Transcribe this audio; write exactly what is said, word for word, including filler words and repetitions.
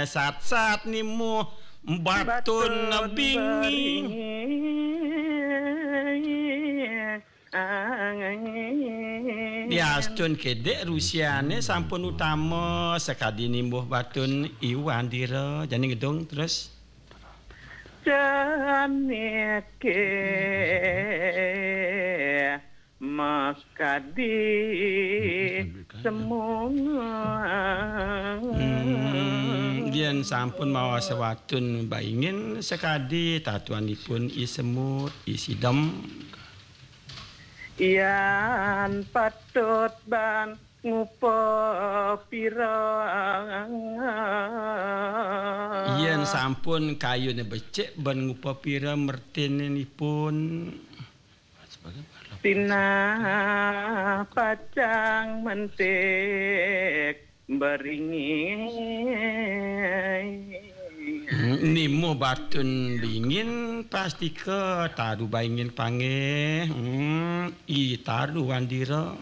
Sat-sat nimuh batun binging. Diastun kedek rusiane sampun utama sakadi nimuh batun I Wandira. Jani ngedung terus. Janike makadi semua. Hmm, yen sampun mawas watun baingin sakadi tatuanipun I Semut, I Sidem. Yan patut ban ngupa pira. Yen sampun kayune becik ban ngupa pira mertininipun. Sinah pacang mentik beringin. Hmm, nimuh batun bingin pastika taru baingin panggih. Hmm, I Taru Wandira.